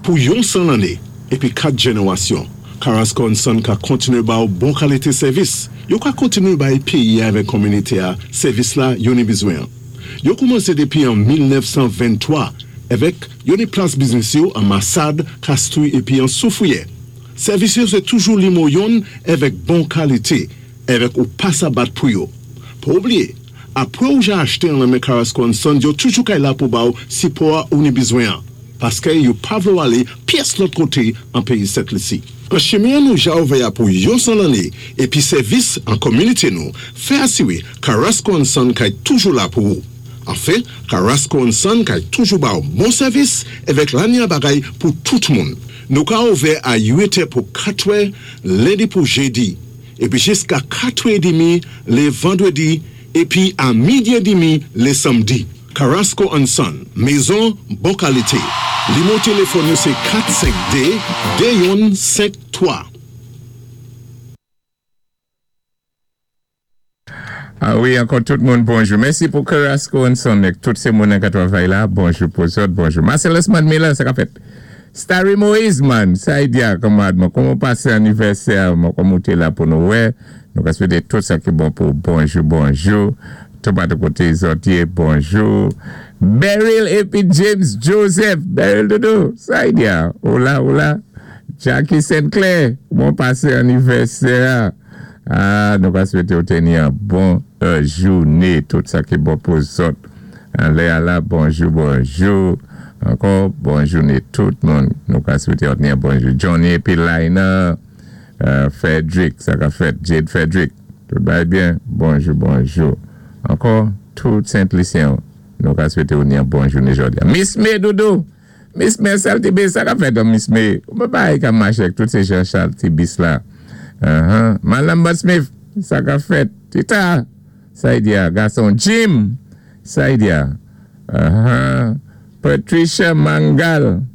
Pou yon 100 lanné épi 4 jenérasyon, Carrasco and Son ka kontiné ba ou bon kalité sèvis. Yo ka kontiné bay péyi-a avèk kominité-a sèvis la yo ni bizwen. Yo koumansé dépi an 1923 avèk yo ni plas biznis yo an Masad, Castries épi an Soufrière. Sèvis yo sé toujou nimo yonn avèk bon kalité, avèk ou pa sa bat pou yo. Pa oubliyé, apwé ou ja achté an nan men Carrasco and Son, yo toujou kay la pou ba ou sipò ou ni bizwen. Paské yo pa vlé ou alé pyès lòt koté an péyi Sent Lisi. An chimen nou ja ouvè pou yon 100 lanné épi sèvis an kominité nou, fè asiwé Carrasco and Son kay toujou la pou ou. Anfen, Carrasco and Son kay toujou ba ou bon sèvis avèk lanya bagay pou tout moun. Nou ka ouvè a 8 pou 4 lendi pou jédi, épi jiska 4 édmi lé vandwédi, épi a midi édmi lé sanmdi. Carrasco and Son, mézon bon kalité. Nimo téléfòn yo sé 452 2153. Ah wi, ankò tout moun, bonjou. Mèsi pou Carrasco and Son, tout sé moun ki twavay la. Bonjou pou zòt, bonjou. Marcellus Miller, sa ka fèt. Starry Moïse, man, sa y di kanmad, man, kouman pasé anivèsè, man, kouman té la pou nou, wè. Nou ka swété tout sa ki bon pou bonjou, bonjou. Tout pa de koté zòt yé, bonjou. Beryl épi James Joseph. Beryl Doudou, sa y di, Hola, hola. Jackie Sinclair, kouman pasé anivèsè? Ah, nou ka swété ou téni yon bon jouné, tout sa ki bon pou zòt. Alé la, bonjou, bonjou. Ankò, bon jouné tout moun. Nou ka swété ou téni yon bonjou. Johnny épi Lina, Frederick, sa ka fèt, Jade Frederick. Tout va byen. Bonjou, bonjou. Ankò, tout Sent-Lisyen, nou ka swété ou yon bon jouné jòdi. Miss May Doudou. Miss May Saltibis, sa ka fèt, Miss May. Ou pa ka maché avèk tout sé Jean Charles Tibis la. Madame Bud Smith, sa ka fèt. Tita, sa y di, gason Jim, sa y di. Patricia Mangal,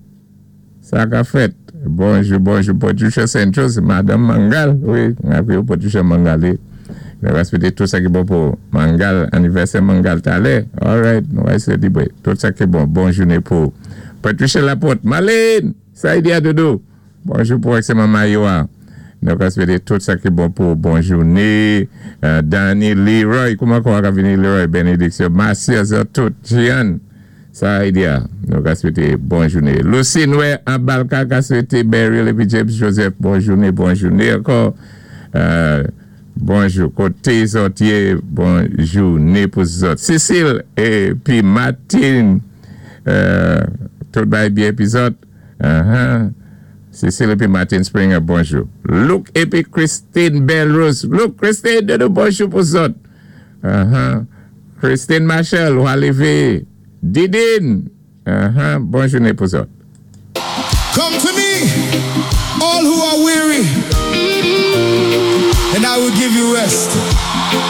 sa ka fèt. Bonjou, bonjou, Patricia Santos, Madame Mangal. Wi, apwé Patricia Mangal. Nou va swété tout sa ki bon pou Mangal, anivèsè Mangal talè. All right, nou va sélébwé tout sa ki bon. Bon jouné pou Patricia Laporte. Marlene, sa y di Doudou. Bonjou pou excellent Mayoa. Nou va swété tout sa ki bon pou bon jouné. Danny Leroy, kouman kon va vini Leroy? Bénédiksyon. Marcia, tout. Jeanne, sa y di. Nou va swété bon jouné. Lucy Noé, en Balka, ka swété Beryl épi James Joseph. Bon jouné, bon jouné ankò. Bonjou, koté zòt yé, bon jouné pou zòt. Cécile épi Martine, tout bagay byen épi zòt. Cécile épi Martine Springer, bonjou. Luke épi Christine Belrose. Luke, Christine, doudou, bonjou pou zòt. Christine Marshall, ou lévé. Didine, bon jouné pou zòt. Come to me, all who are weary, and I will give you rest.